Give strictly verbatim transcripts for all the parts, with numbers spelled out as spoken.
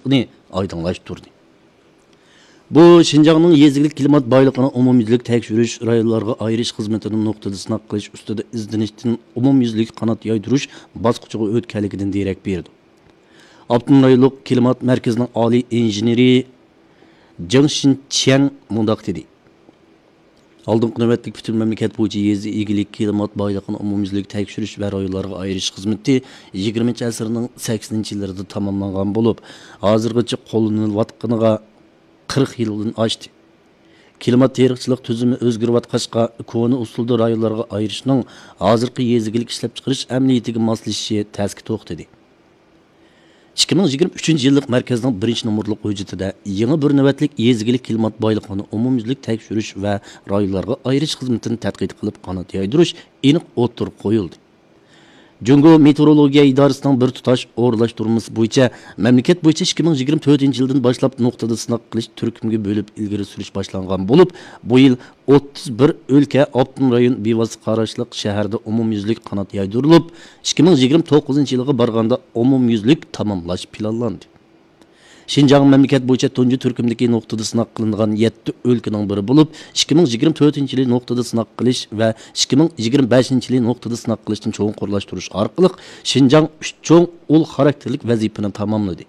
ئايدىڭلاشتۇردى. بۇ شىنجاڭنىڭ يېزا ئىگىلىك كىلىمات بايلىقىنى ئومۇميۈزلۈك تەكشۈرۈش، رايونلارغا ئايرىش خىزمىتىنى نۇقتىدا سىناق قىلىش ئۈستىدە ئىزدىنىشتىن ئومۇميۈزلۈك قانات يايدۇرۇش باسقۇچىغا ئۆتكەنلىكىدىن دېرەك بېرىدۇ. ئاپتونوم رايونلۇق كىلىمات مەركىزىنىڭ ئالىي ئىنژېنېرى جېڭ شىنچيەن مۇنداق دېدى: ئالدىنقى نۆۋەتلىك پۈتۈن مەملىكەت بويىچە يېزا ئىگىلىك كىلىمات بايلىقىنى ئومۇميۈزلۈك تەكشۈرۈش ۋە رايونلارغا ئايرىش خىزمىتى يىگىرمىنچى ئەسىرنىڭ سەكسىنىنچى يىللىرىدا تاماملانغان بولۇپ، ھازىرغىچە قوللىنىلىۋاتقىنىغا قىرىق يىلدىن ئاشتى. كىلىمات تېرىقچىلىق تۈزۈمى ئۆزگىرىۋاتقاچقا، كونا ئۇسۇلدا رايونلارغا ئايرىشنىڭ ھازىرقى يېزا ئىگىلىك ئىشلەپچىقىرىش ئەمەلىيىتىگە ماسلىشىشى تەسكە توختىدى. ئىككى مىڭ يىگىرمە ئۈچىنچى يىللىق مەركەزنىڭ بىرىنچى نومۇرلۇق ھۆججىتىدە يېڭى بىر نۆۋەتلىك يېزا ئىگىلىك كىلىمات بايلىقىنى ئومۇميۈزلۈك تەكشۈرۈش ۋە رايونلارغا ئايرىش خىزمىتىنى تەتقىق قىلىپ قانات يايدۇرۇش ئېنىق ئوتتۇرىغا قويۇلدى. جۇڭگو مېتېئورولوگىيە ئىدارىسىنىڭ بىر تۇتاش ئورۇنلاشتۇرمىسى بويىچە مەملىكەت بويىچە ئىككى مىڭ يىگىرمە تۆتىنچى يىلدىن باشلاپ نۇقتىدا سىناق قىلىش تۈركۈمگە بۆلۈپ ئىلگىرى سۈرۈش باشلانغان بولۇپ، بۇ يىل ئوتتۇز بىر ئۆلكە، ئاپتونوم رايون بىۋاسىتە قاراشلىق شەھەردە ئومۇميۈزلۈك قانات يايدۇرۇلۇپ، ئىككى مىڭ يىگىرمە توققۇزىنچى يىلغا بارغاندا ئومۇميۈزلۈك تاماملاش پىلانلاندى. شىنجاڭ مەملىكەت بويىچە تۇنجى تۈركۈمدىكى نۇقتىدا سىناق قىلىنغان يەتتە ئۆلكىنىڭ بىرى بولۇپ، ئىككى مىڭ يىگىرمە تۆتىنچى يىلى نۇقتىدا سىناق قىلىش ۋە ئىككى مىڭ يىگىرمە بەشىنچى يىلى نۇقتىدا سىناق قىلىشنى چوڭقۇرلاشتۇرۇش ئارقىلىق شىنجاڭ ئۈچ چوڭ ئۇل خاراكتېرلىك ۋەزىپىنى تاماملىدى.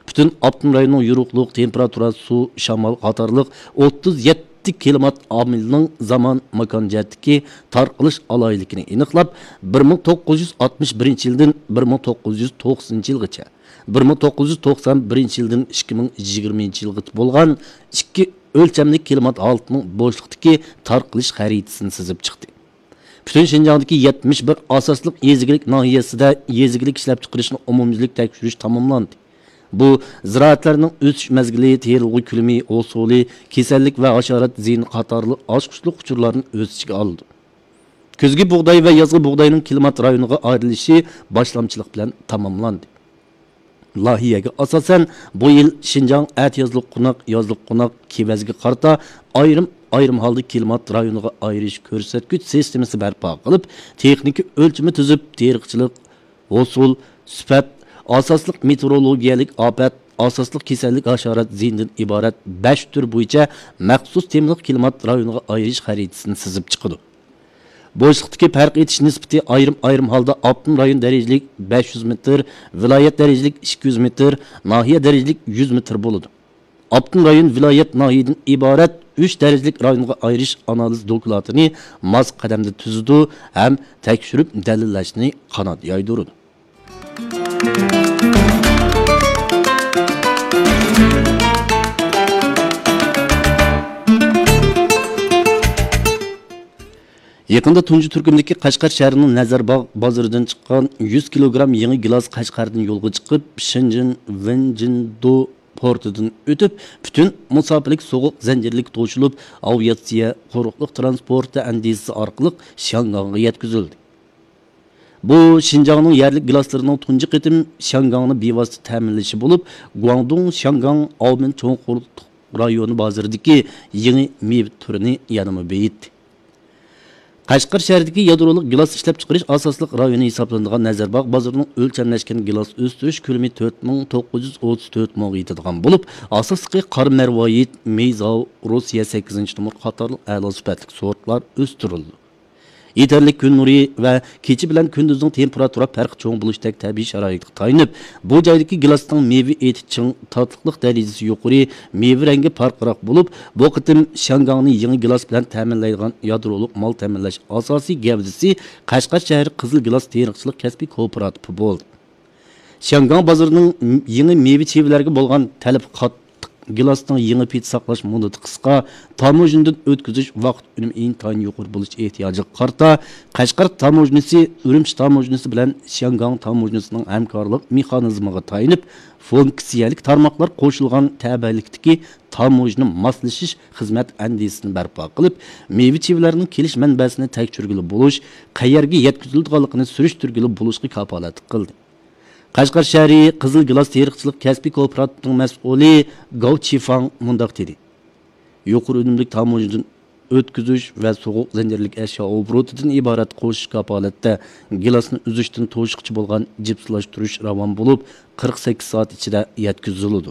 پۈتۈن ئاپتونوم رايوننىڭ يورۇقلۇق، تېمپېراتۇرا، سۇ، شامال قاتارلىق ئوتتۇز يەتتە كىلىمات ئامىلىنىڭ زامان، ماكان جەھەتتىكى تارقىلىش ئالاھىدىلىكىنى ئېنىقلاپ، بىر مىڭ توققۇز يۈز ئاتمىش بىرىنچى يىلدىن بىر مىڭ توققۇز يۈز توقسىنىنچى يىلغىچە، بىر مىڭ توققۇز يۈز توقسان بىرىنچى يىلدىن ئىككى مىڭ يىگىرمىنچى يىلغىچە بولغان ئىككى ئۆلچەملىك كىلىمات ھالىتىنىڭ بوشلۇقتىكى تارقىلىش خەرىتىسىنى سىزىپ چىقتى. پۈتۈن شىنجاڭدىكى يەتمىش بىر ئاساسلىق يېزا ئىگىلىك ناھىيەسىدە يېزا ئىگىلىك ئىشلەپچىقىرىشنى ئومۇميۈزلۈك تەكشۈرۈش تاماملاندى. بۇ زىرائەتلەرنىڭ ئۆسۈش مەزگىلى، تېرىلغۇ كۆلىمى، ھوسۇلى، كېسەللىك ۋە ھاشارات زىيىنى قاتارلىق ئاچقۇچلۇق ئۇچۇرلارنى ئۆز ئىچىگە ئالىدۇ. كۈزگى بۇغداي ۋە يازغى بۇغداينىڭ كىلىمات رايونىغا ئايرىلىشى باشلامچىلىق بىلەن تاماملاندى. لايىھەگە ئاساسەن، بۇ يىل شىنجاڭ ئەتىيازلىق قوناق، يازلىق قوناق، كېۋەزگە قارىتا ئايرىم، ئايرىم ھالدا كىلىمات رايونىغا ئايرىش كۆرسەتكۈچ سىستېمىسى بەرپا قىلىپ، تېخنىكا ئۆلچىمى تۈزۈپ، تېرىقچىلىق، ھوسۇل، سۈپەت، ئاساسلىق مېتېئورولوگىيەلىك ئاپەت، ئاساسلىق كېسەللىك، ھاشارات زىيىنىدىن ئىبارەت بەش تۈر بويىچە مەخسۇس تېمىلىق كىلىمات رايونىغا ئايرىش خەرىتىسىنى سىزىپ چىقىدۇ. بوشلۇقتىكى پەرق ئېتىش نىسبىتى ئايرىم-ئايرىم ھالدا ئاپتونوم رايون دەرىجىلىك بەش يۈز مېتىر، ۋىلايەت دەرىجىلىك ئىككى يۈز مېتىر، ناھىيە دەرىجىلىك يۈز مېتىر بولىدۇ. ئاپتونوم رايون، ۋىلايەت، ناھىيەدىن ئىبارەت ئۈچ دەرىجىلىك رايونغا ئايرىش ئانالىز دوكلاتىنى ماس قەدەمدە تۈزىدۇ ھەم تەكشۈرۈپ دەلىللەشنى قانات يايدۇرىدۇ. يېقىندا تۇنجى تۈركۈمدىكى قەشقەر شەھىرىنىڭ نەزەرباغ بازىرىدىن چىققان يۈز كىلوگرام يېڭى گىلاس قەشقەردىن يولغا چىقىپ، شېنجېن ۋېنجىندۇ پورتىدىن ئۆتۈپ، پۈتۈن مۇساپىلىك سوغۇق زەنجىرلىك توشۇلۇپ، ئاۋىئاتسىيە، قۇرۇقلۇق ترانسپورتى ئەندىزىسى ئارقىلىق شياڭگاڭغا يەتكۈزۈلدى. بۇ شىنجاڭنىڭ يەرلىك گىلاسلىرىنىڭ تۇنجى قېتىم شياڭگاڭنى بىۋاسىتە تەمىنلىشى بولۇپ، گۇاڭدۇڭ شياڭگاڭ ئاۋمېن چوڭ قۇرۇقلۇق رايونى بازىرىدىكى يېڭى مېۋە تۈرىنى يەنىمۇ بېيىتتى. قەشقەر شەھىرىدىكى يادرولۇق گىلاس ئىشلەپچىقىرىش ئاساسلىق رايونى ھېسابلىنىدىغان نەزەرباغ بازىرىنىڭ ئۆلچەملەشكەن گىلاس ئۆستۈرۈش كۆلىمى تۆت مىڭ توققۇز يۈز ئوتتۇز تۆت موغا يېتىدىغان بولۇپ، ئاساسلىقى قارا مەرۋايىت، مېيزاۋ، روسىيە سەككىزىنچى نومۇر قاتارلىق ئەلا سۈپەتلىك سورتلار ئۆستۈرۈلىدۇ. يېتەرلىك كۈن نۇرى ۋە كېچە بىلەن كۈندۈزنىڭ تېمپېراتۇرا پەرقى چوڭ بولۇشتەك تەبىئىي شارائىتقا تايىنىپ، بۇ جايدىكى گىلاستىڭ مېۋە ئېتى چىڭ، تاتلىقلىق دەرىجىسى يۇقىرى، مېۋە رەڭگى پارقىراق بولۇپ، بۇ قېتىم شياڭگاڭنى يېڭى گىلاس بىلەن تەمىنلەيدىغان يادرولۇق مال تەمىنلەش ئاساسىي گەۋدىسى قەشقەر شەھىرى قىزىل گىلاس تېرىقچىلىق كەسپىي كوپىراتىپى بولدى. شياڭگاڭ بازىرىنىڭ يېڭى مېۋە چىۋىلەرگە بولغان تەلىپى قاتتىق، گىلاسنىڭ يېڭى پېتى ساقلاش مۇددىتى قىسقا، تاموژنىدىن ئۆتكۈزۈش ۋاقىت ئۈنۈمى ئىنتايىن يۇقىرى بولۇش ئېھتىياجىغا قارىتا، قەشقەر تاموژنىسى ئۈرۈمچى تاموژنىسى بىلەن شياڭگاڭ تاموژنىسىنىڭ ھەمكارلىق مېخانىزمىغا تايىنىپ، فۇنكسىيەلىك تارماقلار قوشۇلغان تەۋەلىكتىكى تاموژنا ماسلىشىش خىزمەت ئەندىزىسىنى بەرپا قىلىپ، مېۋە چىۋىلەرنىڭ كېلىش مەنبەسىنى تەكشۈرگىلى بولۇش، قەيەرگە يەتكۈزۈلىدىغانلىقىنى سۈرۈشتۈرگىلى بولۇشقا كاپالەتلىك قىلدى. قەشقەر شەھىرى قىزىل گىلاس تېرىقچىلىق كەسپىي كوپىراتىپىنىڭ مەسئۇلى گاۋ چىفاڭ مۇنداق دېدى: يۇقىرى ئۈنۈملۈك تاموژنىدىن ئۆتكۈزۈش ۋە سوغۇق زەنجىرلىك ئەشيا ئوبوروتىدىن ئىبارەت قوشۇش كاپالەتتە گىلاسنى ئۈزۈشتىن توشقىچە بولغان جىپسىلاشتۇرۇش راۋان بولۇپ، قىرىق سەككىز سائەت ئىچىدە يەتكۈزۈلىدۇ.